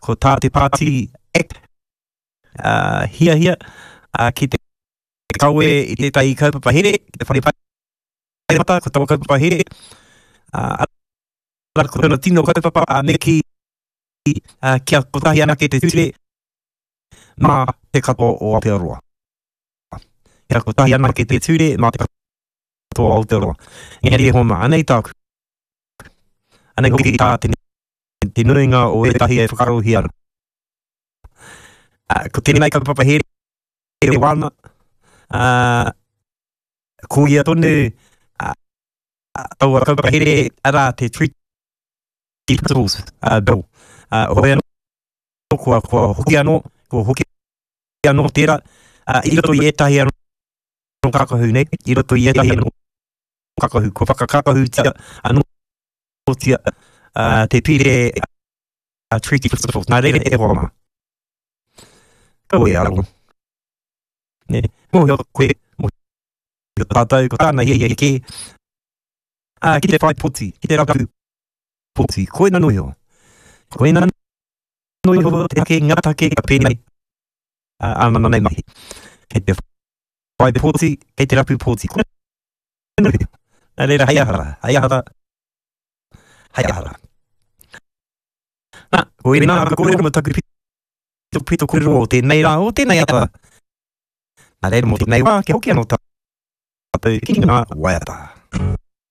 Ko tā te pāti Act hiahia ki te kawe i tētahi kaupapa here ki te whare paremata, ko taua kaupapa here, arā, ko tōna tino kaupapa, me kī, kia kotahi anake te ture mā te katoa o Aotearoa. Kia kotahi anake te ture mā te katoa o Aotearoa. Engari e hoa mā, anei tāku. Anei hoki tā te, te nuinga o ētahi e whakaarohia ana. Ko tēnei kaupapa here e wāna, ko ia tonu taua kaupapa here, arā te Treaty Principles Bill. Hoi anō, kua, kua hoki anō, kua hoki anō tērā, i roto i ētahi anō kākahu nei, i roto i ētahi anō kākahu, kua whakakākahutia anōtia te pire Treaty Principles. Nā reira e hoa mā. Kaua e aro. Nē, mōhio koe, mōhio tātou, ko tāna hiahia kē, ā, ki te whai poti, ki te rapu poti, koina noa iho. Koina noa iho te take, ngā take ka pēnei āna nei mahi. Kei te whai poti, kei te rapu poti. Koina noa iho. Nā reira, hei aha rā, hei aha rā, hei aha rā. Nā, koina ka kōrero mō taku pitopito kōrero o tēnei rā, o tēnei ata. Nā reira mō tēnei wā, kia hoki anō tātou ki ngā waiata.